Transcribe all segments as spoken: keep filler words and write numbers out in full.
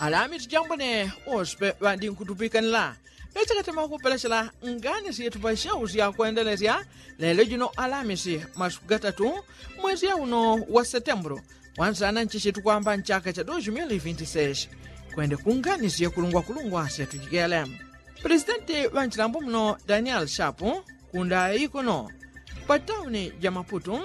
Alamisi jambone wose ŵadinkutupikanila. Ŵechakatema kupelechela ngani syetu pa syau syakwendelesya lelo jino alamisi masuku gatatu mwesi yauno wa setembulu, wansana nchichi tukwamba nchaka cha dos mil vinti seis. Kwende kungani syekulungwakulungwa syatujigele. Presidenti ŵanchilambo muno daniel shapu kundayi kuno pa tauni ja maputu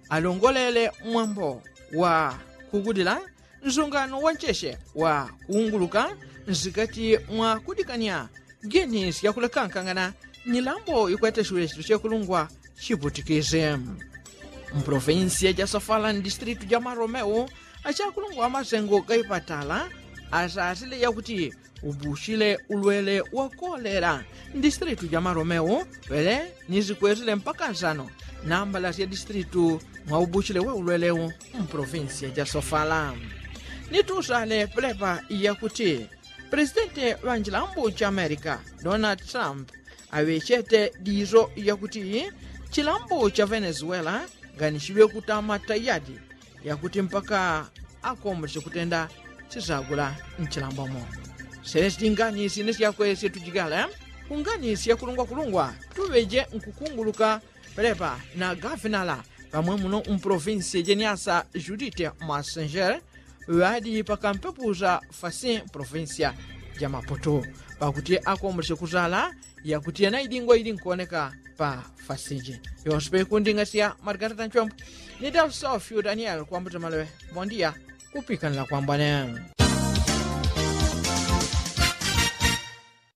alongolele mwambo wa kugudila nsungano wa ncheche wa kuunguluka nsikati mwa kudikanya geni syakulekankangana nyilambo ikwete shulechitu chekulungwa chiputikizi. Mprovinsiya ja sofala ndistritu ja maromeu achakulungwa amasengo gaipatala asasile yakuti ubushile ulwele wa kolera ndistritu ja maromeu pele nizikwesile mpaka nsano nambala sya distritu mwa ubuchile wa ulweleu. Mprovinsiya ja sofala nitusale pelepa yakuti presidenti ŵa nchilambu cha amerika donald trump aŵechete diso yakuti chilambu cha venezuela nganichiŵe kutama tayadi yakuti mpaka akomboleche kutenda chisagula nchilambomo. Sele sitingani sine syakwe syetujigale kungani syakulungwakulungwa tuŵeje nkukunguluka pelepa na gafinala pamwe muno mprovinsi jeniasa judite masenger ŵadi pakampepusa fasi provinsiya ja maputu pakuti akomboleche kusala yakuti yanaidingwa ili nkuoneka pa fasiji. Yonse pekundingasya margarita nchombo ni dalsofyu daniel kwambuta maleŵe. Mondiya kupikanila kwambwane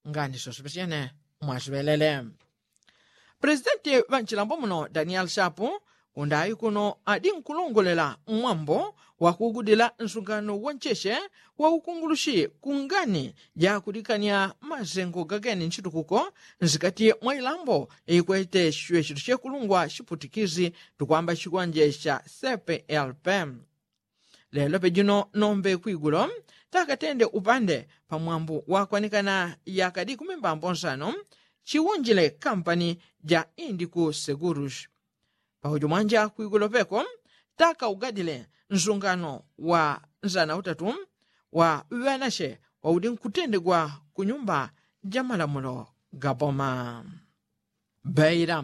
ngani sosopesyene mwasiŵelele. Presidenti ŵa nchilambo muno daniel shapu kundayi kuno adi nkulongolela mwambo wa kugudila nsungano wa ncheche wa ukungulushi kungani ja kudikanya masengo gageni nchitukuko nsikati mwa ilambo ikwete chichiŵe chitu chekulungwa chiputikizi tukwamba chikwanje cha cplp. Lelo pejino nombe kwigulo takatende upande pamwambu wakwanikana yakadi kumimbambo nsano chiwunjile kampani ja indiku segurush. Pakujo mwanja kwigulo peko takaugadile nsungano wa nsana utatu wa ŵanache waudi nkutendegwa kunyumba ja malamulo ga boma. Beira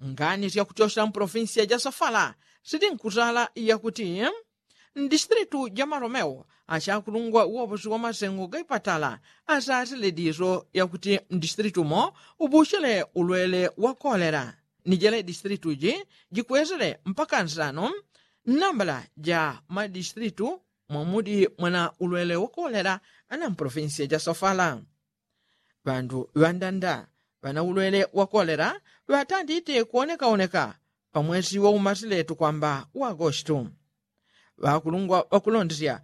ngani syakutyosela mprovinsiya ja sofala sili nkutala yakuti mdistritu ja maromeu achakulungwa woposi wa masengo gaipatala asasile diso yakuti mdistritu mo ubuchile ulwele wa kolera ni jele distritu ji jikwesele mpaka nsano nambala ja madistritu mwamudi mwana ulwele wa kolera ana mprovinsiya ja sofala. Ŵandu ŵandanda ŵana ulwele wa kolera ŵatandite kuonekaoneka pa mwesi wa umasile tukwamba wa agostu. Ŵakulungwa ŵakulondesya